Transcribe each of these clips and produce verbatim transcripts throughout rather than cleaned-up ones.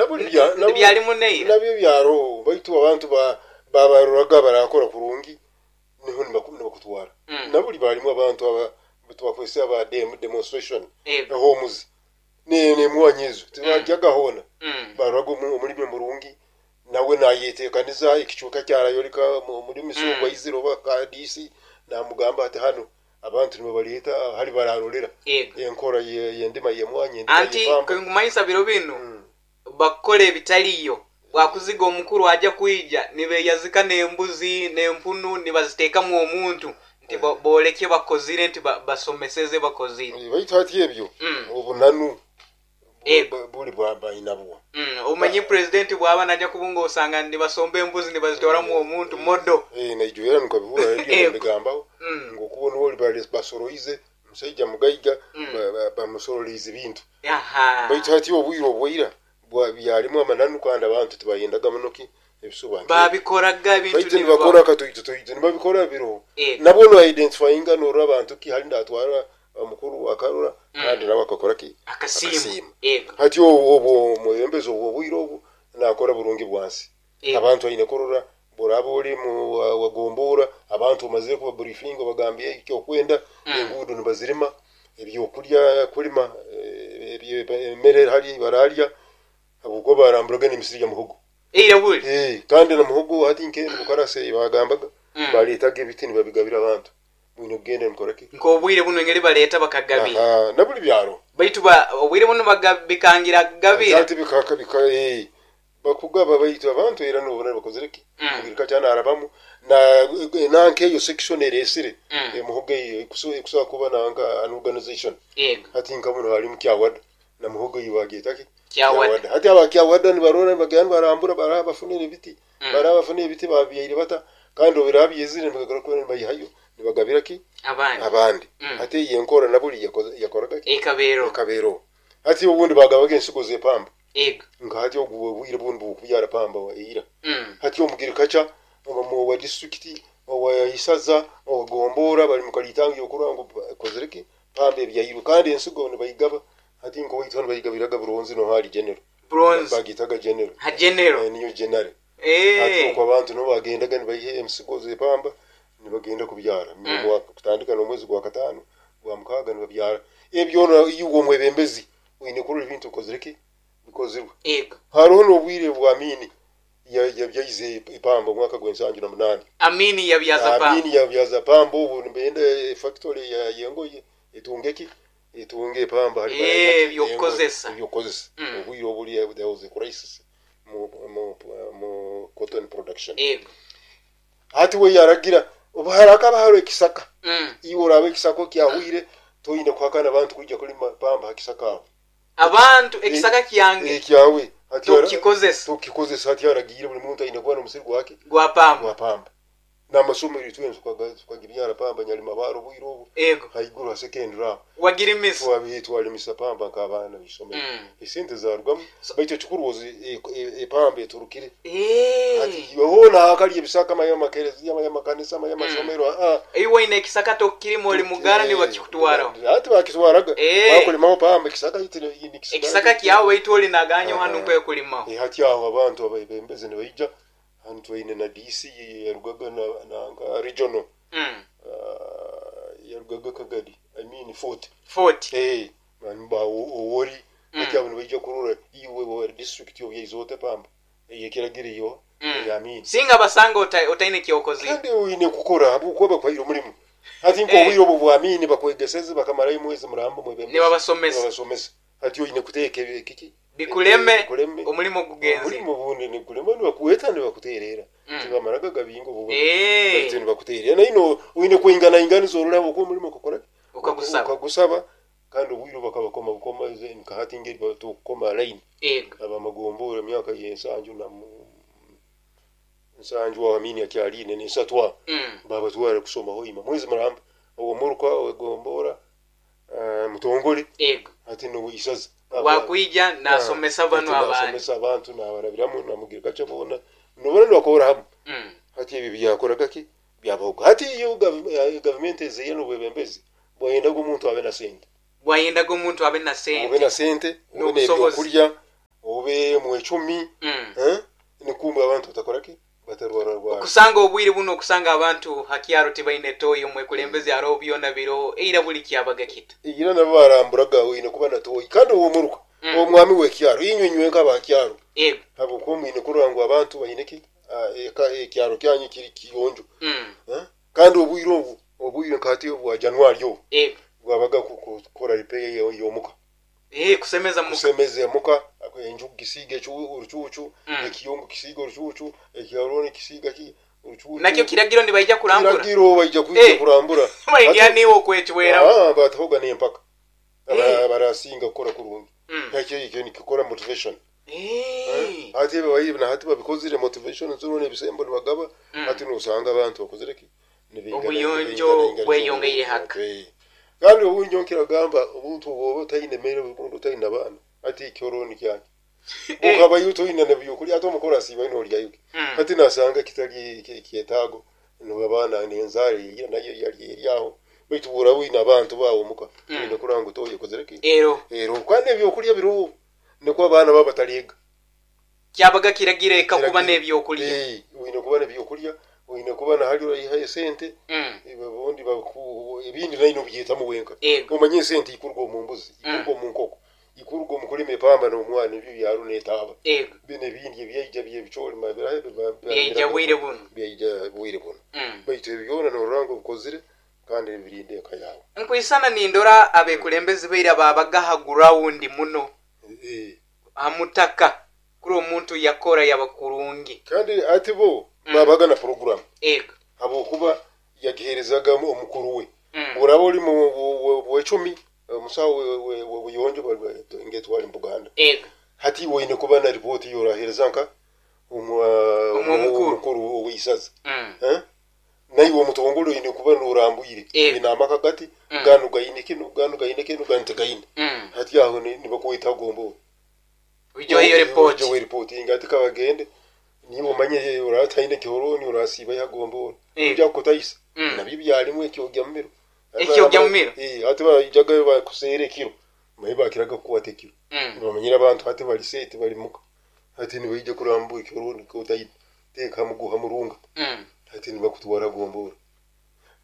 Nabuli bya- nabuli- Byalimu neira. Nabyo byaroho, baitu abantu ba- babaroraga barakora kurungi, niho nibaku- nibakutwara. Mm. Nabuli balimu abantu aba twakwese aba dem demonstration Ego. homes ne nemwanyi ezo tibajyaga hona. Mm. Baroraga omu- omulimi murungi, nawe nayetekaniza ekicuka kyarayoleka mu- muri misungwa. Mm. Izire oba kadisi namugamba ati hano abantu nibabaleta hali bararolera Ego. enkora ye- yendima yemwanyi, endima Anti yepamba. kengumanyisa biro binu Mm. bakora ebitaliyo, bwakuziga omukuru ajja kwija nibeyazika n'embuzi n'empunu nibaziteekamu omuntu nti bo- booleke bakozire nti ba- basomeseze bakozire. Eh, baitu hati ebyo Mm. obunanu bu- Ego. bu- buli bwabayinabwo. Mm, omanyi pulezidenti bwaba najja kubunga osanga nibasomba embuzi nibazitwaramu omuntu modo. Naijuera nikabihura radio. Ego. Bigambaho Mm. ngokuba nuwo basoroize omushaija mugaiga, Mm. ba- ba- bamusorolize ebintu. Aha. Baitu hati obwire obwaira bwa- byalimu amananu, kandi abantu tibayendaga munoki ebisuba. Babikoraga ebintu. Baitu nibiba- nibakora katoito toito, nibabikora biro. Ego. Nabo no identifyinga norora abantu ki hali ndatwara omukuru akarora kandi nawe akakora ki? Akasiima. Akasiima. Ego. Hati obwo obwo omwebembezi obwo obwire obwo nakora burungi bwansi. Ego. Abantu aine kurora boraba ori mu wa- wagombora abantu omazire kuba briefing, obagambye ekyokwenda. Mm. Enguudo nibazirima, ebyokurya kulima, eh, ebye- emmere hali bararya, habwokuba baramburaga n'emisiri ya muhogo. Eira buli. Eh, kandi na muhogo hati nke mukarase bagambaga Mm. baretaga ebiti nibabigabira abantu, mwine kugenda nimukoraki. Nk'obwire buno engeri baleeta bakagabira. Aha, na buli byaro. Baitu ba obwire buno baga- bikangira kugabira. Ati bikaka bika eh bakugaba, baitu abantu era nobona bakozere ki. Mm. Mugirika cyane arabamu na nanke eyo section eresire. Mm. Emuhogo eyo ekuso ekusobola kuba nanka an organization. Ego. Hati nka muno halimu Kyawada na muhogo eyo bagyetaki. Kyawada. Hati aba Kyawada nibarora nibagenda barambura, baraba bafunire ebiti. Mm. Baraba bafunire ebiti babyaire bata, kandi obirabyezire nibagara kuba nibayihayo nibagabira ki? Abandi. Abandi. Mm. Hati iyi enkora nabuli yakoze- yakoraga ki? Ekabeero. Ekabeero. Hati obundi bagabaga ensigo z'epamba. Ego. Nka hati ogu obwire bundi bukubyara pamba wa eira. Mm. Hati omugirikaca owa disitulikiti, owa isaza, owagombora bali mukalitangi okurora ngu kozereki pamba ebyairwe, kandi ensigo nibayigaba. Hati nkowaitu hanu bayigabiraga buronzi, no hali general. Bronze. Bagitaga general. Ha general. Eh, niyo general. Hati Eh. okwo abantu nibo bagendaga nibayiha emisigo z'epamba nibagenda kubyara. Mm. Mwaka kutandika n'omwezi gwa kataano, gwa mukaaga nibabyara. Ebyo iwe omwebembezi oine kurora ebintu okozereki bikozirwe. Ego. Hariho n'obwire bwa Amini yabyaize epamba omwaka gw'ensanju na munaani. Amini yabyaza pamba. Amini yabyaza pamba, obu nibenda factory ya yengoye etunge ki, etunge epamba hali. Eh, barayina ki, ebyokukozesa. ebyokukozesa. Mm. Obwire obuli there was a crisis mu, mu, mu cotton production. Ego. Hati we yaragira obu harakaba hariho ekisaka, Mm. iwe oraba ekisaka kyahwire, toyine kuhakana abantu kwijja kulima pamba ha kisaka aho. Abantu ekisaka kyange. Ekyawe hati yara- Tukikozesa. tukikozesa. Hati yaragiire buli muntu aine kuba n'omusiri gwake gwa pamba. Gwa pamba. N'amasomero itwensi tukagibyara pamba, Nyalimabaro obwire obu. Ego. Haiguru ha secondary aho. Wagirimisa. Twabi twalimisa pamba nk'abaana b'isomero. Mm. Esente zarugamu. So- Baitu ekikuru ozi e- e- epamba eturukire. Eh. Hati hoona hakali ebisaka, amaye amakereziya, amaye amakanisa, amaye amasomero, aa. Iwe oine ekisaka tokirima, oli mugara nibakikutwaraho. Ati bakitwaraga. Eh. Bakulimaho pamba ekisaka itire. Ekisaka kyawe, baitu oli naganyo hanu Aha. kwekulimaho. Eh, hati aho abantu abebembezi nibaija hanu, twaine na D C yarugaga na, na nka regional. Mm. uh, yarugaga Kagadi, I mean Fort. Forty. Eh, ba owori. Mm. Hati abo nibaija kurora iwe wa district obyaizote pamba eyekiragiro iyo. Mm. Amini. Singa basanga ota- otaine kyokozire. Kandi oine kukora habwokuba bakwaire omulimu. Hati Eh. nk'obwire obwo bwamini bakwegeseze bakamarayo mwezi muramba mwebembezi. Nibabasomesa. Nibabasomesa. Hati oine kuteeka ebi- kiki. Bikuleme. Bikuleme. Omulimo gugenze. Omulimu obundi nikulema, nibakuweta nibakuteerera. Mm. Tibamaraga gabinga obundi. Eh. Baitu nibakuteerera naino oine kwingana inganiza ororaba okuba omulimu okukora Ukagusaba. ukagusaba. Kandi obwire bakabakoma bukoma nkahati ngeri batukoma line. Ego. Abamagombora emyaka yensanju na mu- nsanju aho Amini akyaline nensatu aho. Mm. Babatwara kusoma hoima mwezi muramba, owomuruka wegombora uh, mutongole. Ego. Ati no isaza. Wakwija nasomesa bano abandi. Nasomesa abantu nabarabiramu namugirika bona nobona nibakora hamwe. Mm. Hati ebi byakoraga ki byabahoga. Hati iyo gav- eh, gavumenti ezeire n'obwebembezi bwayendaga omuntu abe na sente. Bwayendaga omuntu abe na Obe sente na sente, obe n'obusobozi. n'ebyokurya, obe Mube mwecumi. Mm. Eh, nikumbe abantu batakoraki, batarwararwara. Okusanga obwire buno, okusanga abantu hakyaro tibaine toyi, omwekulembeze aroho byona biroho, eira buli kyabaga kita. Era nabo baramburaga, wine kuba na toyi kandi owomuruka, Mm. omwami w'ekyaro, inywe nywe nk'abakyaro, Ego. habwokuba mwine kurora ngu abantu baine ki, ah, eka- ekyaro kyanyu kiri kiyonjo. Mm. Eh? Kandi obwire obu, obwire nkati obwa Januari obu, Ego. bwabaga ku- kukora repair y'omuka. Eh, kusemeza muka. Kusemeza emuka, enju kisiga ecu- orucuucu, Mm. ekiyungu kisiga orucuucu, ekyaroni kisiga ki orucuucu. Nakyo kiragiro nibaija kurambura. Kiragiro baija kwija Eh. kurambura. Baingira Hati- niwe okwecweramu. Ah, batahoga n'empaka. Aba- Eh. barasinga kukora kurungi. Mm. Ekyo ekyo nikikora motivation. Eh. Hati babayibi na hati babikozire motivation zino n'ebisembo nibagaba. Mm. Hati nosanga abantu bakozire ki. Nibingana- Obuyonjo nibingana- bweyongeire haka. Eh. Kandi obunjo nkiragamba, obuntu bwoba otaine mere, obundi otaine abaana, ati ekyoroni kyange Eh. ukabayo toine nebyokurya, ate omukoro asiiba nolyayo. Mm. Hati nasanga kitali kyetaago, abaana nenzara eira nayo yali eryaho, baitu bwora wine abantu bawe omuka, Mm. oine kurora ngu toyi okozire ki. Ero. Ero kandi ebyokurya biroho, nikwo abaana baba bataliga. Kyabaga kiragiro eka kuba n'ebyokulya. Eh, oine kuba n'ebyokurya, oine kuba nahali oraihayo esente. Mm. Obundi baku- ebindi naine obyetamu wenka. Ego. Omanye esente ikuruga omu mbuzi, ikuruga omu nkoko, ikuruga omu kulima epamba n'omwana, ebyo byaro n'etaaba. Ego. Bino ebindi ebyaija byebicori. Byaija bwire buno. Byaija bwire buno. Mm. Baitu ebyo byona norora ngu obikozire kandi birinda eka yawe. Nkwisana nindora abekulembezi baira babaga ha ground muno, Eh, ha mutaka, kuri omuntu yakora yaba kurungi. Kandi ati bo Mm. babaga na program, Ego. habwokuba yagiherezaga omukuru we. Mm. Uraba ori mu bwecumi, omusawo w'obuyonjo ngetwali mu Buganda. Ego. Hati woine kuba na ripoti yorahereza nka omwa- Omukuru. omukuru ow'isaza. Mm. Eh? Naiwe omutongole oine kuba norambwire. Eh. Ine amaka gati, Mm. ganu gaine kino, ganu gaine kino, ganu tegaine. Mm. Hati aho ni- nibakwita gombo. Ujoe iyo report. Ujoe report inga ati kabagende, niba omanye orataine kihoroni, orasiba yagombora. Eh. Ujya kutayisa. Mm. Nabyo byalimu ekyogya mumiro. Ekyogya mumiro? Eh, hati bajaga bakuseera ekiro, maye bakiraga kukwata ekiro. Mm. Bamanyira abantu hati bali seti bali muka, hati nibaija kurambura ekihoroni kotayine, teeka muguha murunga. Mm. Hati nibakutwara gombora,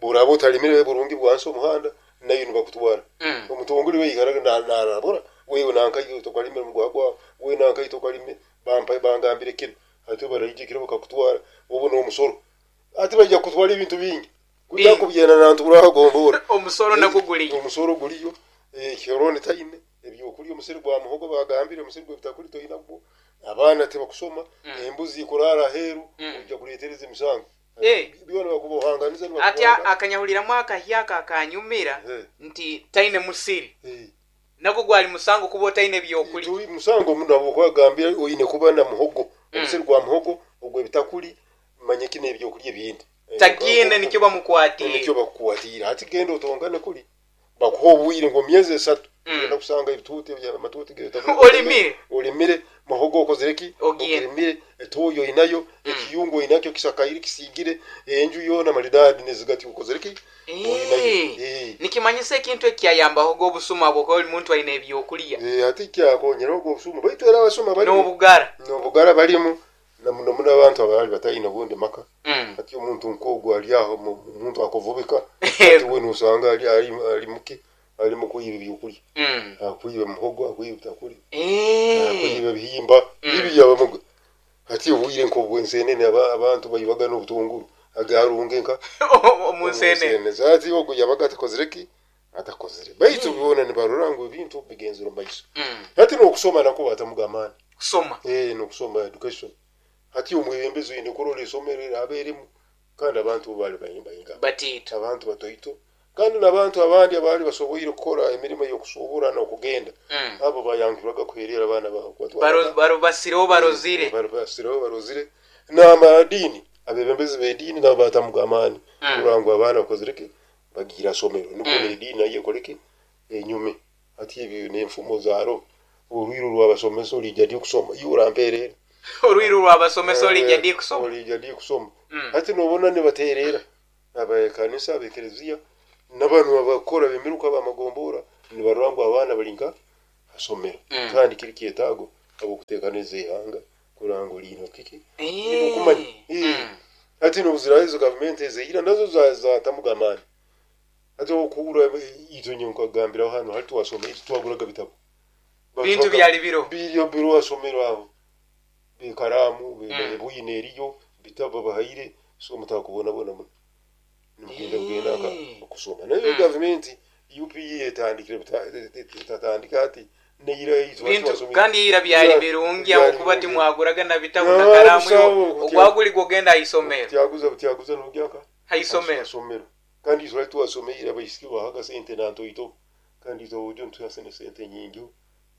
buraba otalimire burungi bwansi omuhanda, nayo nibakutwara. Mm. Omutongole weikaraga narabura, wewe nankayo tokalimire mugwa gwawe, wewe nankayo tokalime, bampa bangambire kino. Hati baraija kiro bakakutwara, obu n'omusoro, hati baija kutwara ebintu bingi kujya Bingi. kubyena nantu urahagombora. Omusoro nagwo guliyo. Omusoro guliyo, ekihoroni taine ebyokurya, omusiri gwa muhogo bagambire, omusiri gw'ebitakuri toinagwo, abaana tibakusoma, Mm. embuzi ikurara aheeru, Mm. ojja kuletereza emisango. Eh. Byona bakubohanganiza. Ati akanyahuliramu akahyaka akanyumira Eh. nti taine musiri, Eh. nagwo gwali musango kuba otaine ebyokulya. Tuli musango muno, habwokuba oine kuba na muhogo, omusiri gwa muhogo ogw'ebitakuri, manye kino ebyokurya ebindi. Tagiine nikyo bamukwatiire. Nikyo bakukwatiire. Hati genda otongane kuli bakuha obwire ngo myezi esatu, Mm. genda kusanga ebituuti, amatuuti g'ebitakuri. Olimire. Olimire muhogo, okozere ki. Ogiine. Ogirimire, etoyo oinayo, ekiyungu oinakyo kisakaire kisigire, enju yoona maridadi nezigati, okozere ki, oinayo. Eh. Eh. Nikimanyisa ekintu ekyayambaho g'obusuma bwokuba buli muntu aine ebyokulya. Eh, ati kyakonyera ogwo obusuma, baitu era abasuma balimu. N'obugara. N'obugara balimu na muno muno abantu abaali bataine obundi maka. Mm. Ati omuntu nk'ogwo ali aho, mu- omuntu akuvubika, ati we nosanga ali, ali, ali muki, ali mu kwiba ebyokulya. Mm. Akwiba muhogo, akwiba bitakuli, Eh. akwiba ebihimba. Mm. Ibi yabamuga ati obwire nk'obwensenene, aba- abantu bayibaga n'obutunguru agarunge nka Omunsenene. Ati ogwo yabaga atakozire ki, atakozire, baitu byona nibarora ngu ebintu bigenzere omu maiso. Mm. Hati n'okusoma nakwo batamuga amaani. Kusoma. Eh, n'okusoma, education. Hati omwebembezi oine kurora esomero eraba erimu, kandi abantu bo baali bayimbayinga. Batiita. Abantu batoito, kandi n'abantu abandi abaali basoboire kukora emirimu y'okusuubura n'okugenda, Mm. abo bayangirwaga kuherera abaana baabo. Baro- baro- basireho barozire. Barosireho barozire. N'amadiini, abebembezi b'ediini nabo batamuga amaani Mm. kurora ngu abaana bakozire ki, bagiire asomero, nukwo Mm. n'ediini nayo ekoleke enyume. Hati ebyo n'enfumo zaaro, orwiru rwabasomesa olijja ddi okusoma, iwe orampeerera. Orwiru rwabasomesa olijja ddi kusoma. Olijja ddi kusoma. Mm. Hati nobona nibateerera abakanisa, abekereziya, n'abantu abakora bemiruka bamagombora, nibarora ngu abaana bali nka asomero. Mm. Kandi kiri kyetaago. abokuteekaniza ihanga kurora ngu liine kiki Eh. okumanya. Eh. Mm. Hati nobuziraho ezo gavumenti ezeira nazo za- zatamuga amaani. Hati okugura itwe nye nkagambiraho hano hali twasoma itwe twaguraga bitabo. Bintu byali biro. Biriyo biro wasomero aho bekaramu Mm. bwine eriyo bitabo bahaire, so mutakubonabona muno nimugenda kugenda Eh. aka okusoma. Nayo Mm. gavumenti U P E etandikire buta- etatandika ati neira itwe Bintu twasomera. kandi ira byali Byali- birungi byali aho kuba birungi. timwaguraga na bitabo Ah, na karamu busawo, iwo kutya- ogwaguli gwogenda aisomero. Tyaguza butyaguza nogyaka Haisomero. Isomero. Kandi itwe twasomera abaisiki bahaga sente nantoito, kandi itwe ojo ntuyasene sente nyingi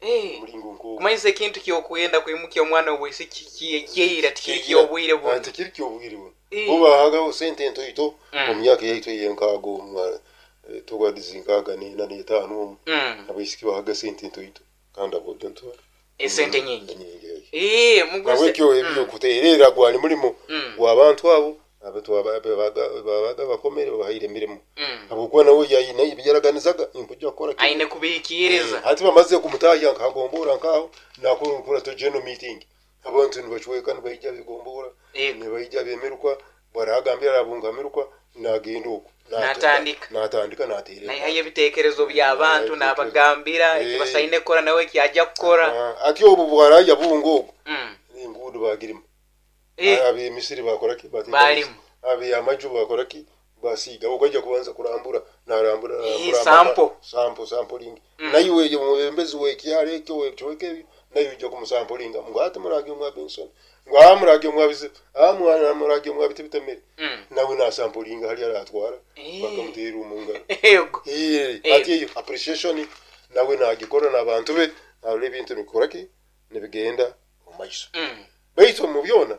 Eh. mulingo nko Kumanyisa ekintu kyokwenda kwimukya omwana obwisiki kyeira tikiri kyobwire buno. Tikiri kyobwire buno. Eh. Bo bahagaho sente ntoito Mm. mu myaka yaitu eyenkaaga omu togwadiza nkaaga nena n'etaano omu Mm. abaisiki bahaga sente ntoito kandi abojo ntwa Esente nyingi. Nyingi. Eh, muguse. Nabwekyo ebyo kuteerera gwali mulimu Mm. gw'abantu abo abantu aba- babaga babaga bakomere babahaire emirimu Mm. habwokuba nawe yayina ebyaraganizaga nkujja kukora kinu. Aine kubihikiriza. Eh, hati bamaze kumutahya nkagombora nkaho nakora to general meeting, abantu nibacweka nibaija bigombora Yego. nibaija bemeruka baragambira arabungamirwa nagenda okwo Natandika. Natandika naterera. Naihayo ebitekerezo by'abantu n'abagambira Eh. ekibasaine kukora nawe kyajja kukora. Ah, ati obu bwaraya bunga obwo Mm. enguudo bagirimu. Eh, Abemisiri bakora ki? Bateeka- Balimu. Abeyamaju bakora ki? Basiiga okajja kubanza kurambura narambura Eh, narambura sample. Sample sampling. Mm. Naye omwebembezi wekyalo ekyo wekicweka ebyo naye ojja kumusampulinga ngu ate murage omwa Benson, ngu aa murage omwa bizibu, aa mwana murage omwa bitibitemere. Mm. Nawe nasampulinga hali aratwara Eh. bakamuteera omungaro. Yego. Eh, Eh. ati eyo appreciation nawe nagikora n'abantu be arora ebintu nibikora ki nibigenda omu maiso. Mm. Baitu mu byona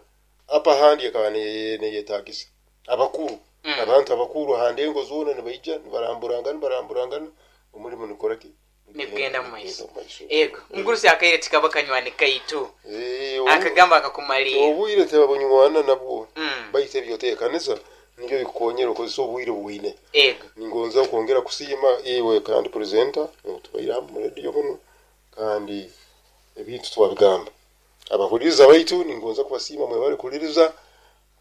apa handi ekaba neye- neyetagisa abakuru. Mm. Abantu abakuru handi engo zoona nibaija nibaramburangana nibaramburangana omulimu nikora ki Nigugenda mu maiso. Nigugenda mu maiso. Yego. Mugurusi akaire tikaba kanywani kaitu. Eh, obu- Akagamba akakumaliira. Obwire tebabunywana nabwo. Mm. Baitu ebyoteekaniza nibyo bikukonyera okozesa obwire bwine. Yego. Ningonza kwongera kusiima iwe kandi presenter tubaire hamu mu radio muno kandi ebintu twabigamba. Abahuliriza baitu ningonza kubasiima, mwebale kuhuliriza.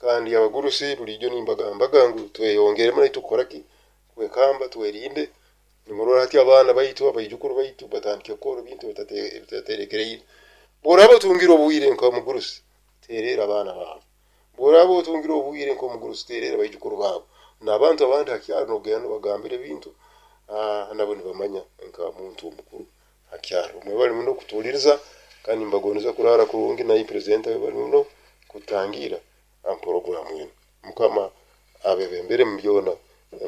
Kandi abagurusi bulijjo nimbagambaga ngu tweyongeremu naitu kukora ki kwekamba twerinde. Nimurora hati abaana baitu abaijukuru baitu batandike kukora ebintu bitate- bitaterekereire. Bworaba otungire obwire nk'omugurusi, tereera abaana baabo. Bworaba otungire obwire nk'omugurusi, tereera abaijukuru baabo n'abantu abandi hakyaro nogenda nobagambira ebintu, ah, nabo nibamanya nka muntu omukuru hakyaro. Mwebale muno kutuuliriza kandi mbagondeza kurara kurungi. Naye presenter webale muno kutangira poroguramu eno. Mukama abebembere mu byona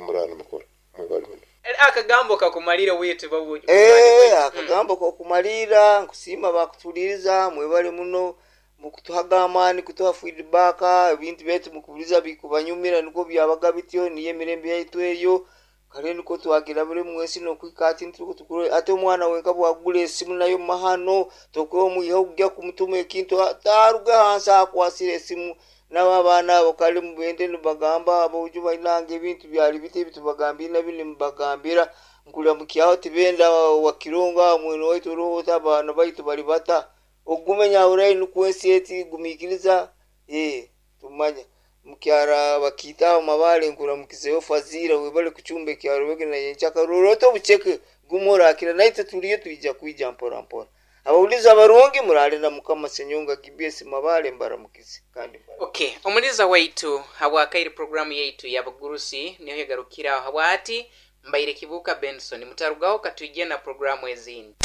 murana mukora. Mwebale muno. Akagambo kakumalira witu babu. Eh, akagambo kokumalira, nkusiima bakutuliriza, mwebale muno mukutuhaga amaani, kutuha feedback. Ebintu byaitu mukubuliza bikubanyumira niko byabaga bityo, niyo emirembe yaitu eyo kale niko twagira buri mwesi nokwika ati ntuko tukure ate omwana wenka bwagula esimu nayo mahano tokwe omwiha okujja kumutuma ekintu taruga hansi akwasira esimu. Nabo abaana abo kale mubende nibagamba abojo bainanga ebintu byali biti ebitubagambire nabyo nimubagambira nkulira mukyaho tibenda wakironga mwene waitu rohota abaana baitu bali bata ogume nyahurayi nukwo ensi eti gumikiriza eh tumanya mukyara bakiita aho mabale nkuramukizeyo fazira webale kuchumba ekyaro wege na yenchaka roroto obucheke gume orakira naitwe tuliyo twija kwija mpora mpora. Abawuliza abarungi murale na Mukama. Senyonga G B S Mabale mbaramukize kandi mbara. Okay, omuliza waitu habwakaire programu yaitu y'abagurusi niyo yegarukiraho habwati mbaire Kibuka Benson mutarugaho katwijje na programu ezindi.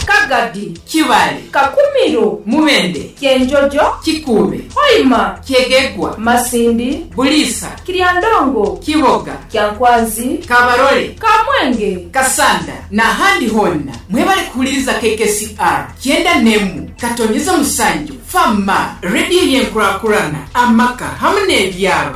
Kagadi, Kibale, Kakumiro, Mubende, Kyenjojo, Kikube, Hoima, Kyegegwa, Masindi, Bulisa, Kiryandongo, Kiboga, Kyankwanzi, Kabarole, Kamwenge, Kasanda n'ahandi honna mwebale kuhuliriza K K C R kyenda nemu katonyeza musanju fama rediyo y'enkurakurana amaka hamwe n'ebyaro.